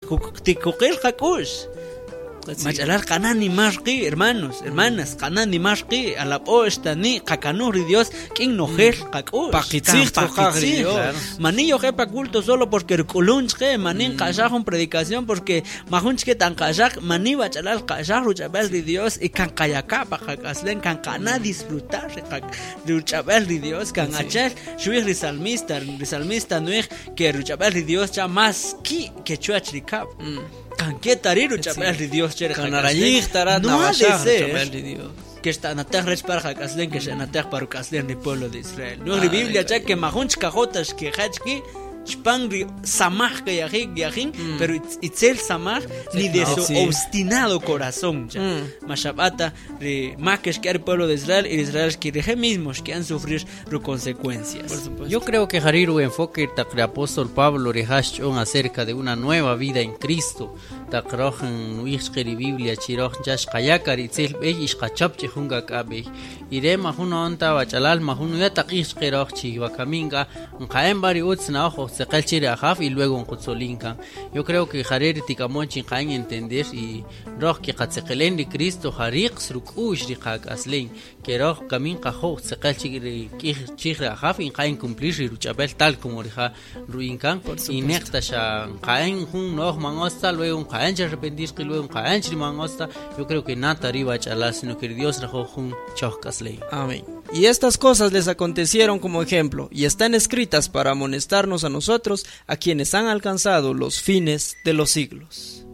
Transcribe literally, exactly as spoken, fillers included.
Tikuqil qak'u'x. Machalal qana nimar qi, hermanos, hermanas, qana nimar qi, alab'o xtani qakanuj ri Dios k'in nojel qak'u'x. Paqitzij Kan tqoqaj ri paqitzij. Dios. Mani yoje pa culto solo porque rk'ulun chqe, mani nqaxaj jun predicación porque majun chqe tan qaxaj, mani bachalal qaxaj ruch'ab'el ri Dios y kan qayaka pa qak'aslen, kan qana disfrutar ri qa- ruch'ab'el ri Dios, kan achel xuij ri salmista, ri salmista nuij que ruch'ab'el ri Dios cha más ki que chuach ri kab'. Kan ke tari ruch'ab'el ri Dios che ri Kan qak'aslen. narayij tarat No ha de nawashaj ser ruch'ab'el ri Dios. Que xta'nataj rech para qak'aslen, que xa'nataj para ruk'aslen ri pueblo de Israel. No ri Ah, Biblia cha ay, que majun chkajota xkejach ki xpan ri samaj que yajin yajin, pero itz- itzel samaj ni de su Sí. obstinado corazón cha. Mm. Mashabata ri más que xke el pueblo de Israel y Israel que rije mismos que han sufrir sus consecuencias. Por supuesto. Yo creo que jari ru enfoque taq ri apóstol Pablo rijax ch'on acerca de una nueva vida en Cristo. Taq roj nu'ij chqe ri Biblia chi roj cha xqayaka ri itzel b'ey y xqachap chi jun k'ak'a b'ey. Y re majun onta bach'alal majun nuya taq q'ij chqe roj chi wakamin k'a nqa'en b'a ri utz na'oj ojtzeqel chi ri ajaw y luego nqutzolin kan. Yo creo que jare ri tikamon chi nqa'en entender y roj kiqatzeqelen ri Cristo jariqs ruk'u'x ri qak'aslen que roj kamin qajoj tzeqel chi ri k'ij chij ri ajaw y nqa'en cumplir ri ruch'ab'el tal como rija ru'in kan y neqta xa nqa'en jun no'oj man osta, luego nqa'en chi arrepentir qi, luego nqa'en chi ri man osta. Yo creo que nata ri bach'alal, sino que Dios rajoj jun choj k'asley. Amén. Y estas cosas les acontecieron como ejemplo, y están escritas para amonestarnos a nosotros, a quienes han alcanzado los fines de los siglos.